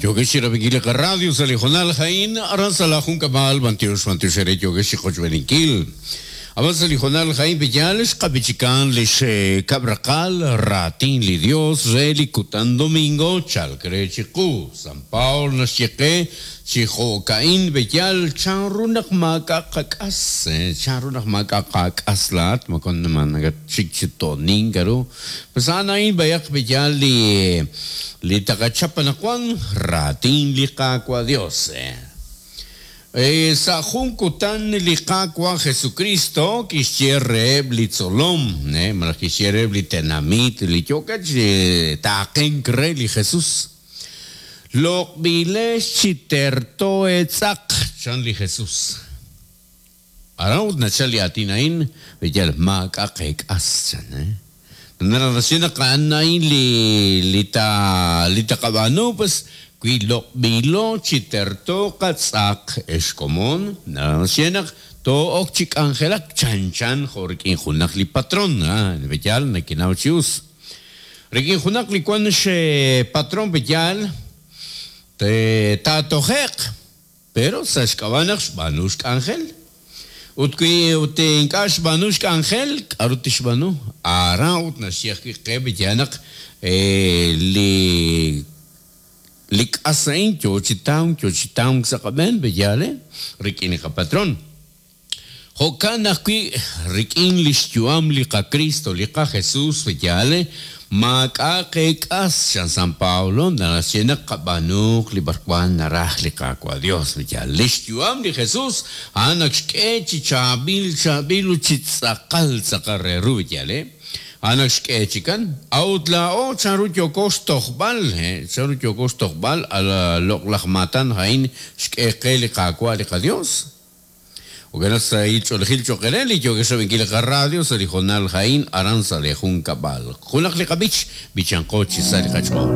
Yookex chi rab'inkil li qaradio sa' li hoonal a'in aran sa' laajunkab'al b'antiox b'antiox eere yookex chi qochb'eeninkil. Ab'an sa' li hoonal a'in pe'yaal xqab'ichikan li xkab' raqal raatin li Dios re li kutan domingo chalk re chiqu. San Paul naxye qe chi jo'ka'in pe'yaal chanru naq maak'a' qak'as, chanru naq maak'a' qak'as laa'at moko nakatxik chi to'nink k'a'ru. Pues a'an a'in b'ayaq pe'yaal li li taqachap anaqwan raatin li Qaawa' Dios. Sa' jun kutan li Qaawa' Jesukristo kixye reheb' li tzolom, malaj kixye reheb' li tenamit li yookeb' chi taaqenk re li Jesus, Loq'b'ilex chi terto eetz'aq, chan li Jesus. Aran ut nachal li aatin a'in, yal maak'a' qeek'as, chan. Naraj naxye naq a'an a'in li li ta li taqab'aanu, pues wi loq'b'ilo chi terto qatz'aq, ex komon, naraj naxye naq too'ok chi k'anjelak chanchan jo' rik'in junaq li patron, yaal nekenaw chi us. Rik'in junaq li wan xpatron yaal, taatoje'q. Pero sa' xk'ab'a' naq xb'aanu xk'anjel. Ut wi ut ink'a' xb'aanu xk'anjel, k'aru tixb'aanu? Aran ut naxye ajwi' qe b'eya naq li li k'as a'in yo chi tamk, yo chi tamk sa' qab'een, b'eyaal rik'in li qapatron. Jo'kan ajwi' rik'in li xyu'am li qaKristo, li qaJesus, yaal, maak'a' qeek'as, chan San Pablo, naxye naq qab'aanuuq li b'arwan naraj li Qaawa' Dios, yaal. Li xyu'am li Jesus, a'an ak xk'e chi chaab'il chaab'il ut chi tz'aqal tz'aqal re ru, yaal. A'an ak xk'e chikan. A'ut laa'o chanru yooko xtojb'al, chanru yooko xtojb'al a loq'laj maatan a'in xk'e qe li Qaawa' li qaDios? Jo'kan naq sahil ch'oolejil cho'q eere li yookex rab'inkil li qaradio sa' li hoonal a'in aran sa' lee junkab'al. Junaq li qab'ich, b'ichanqo chi sa li qach'ool.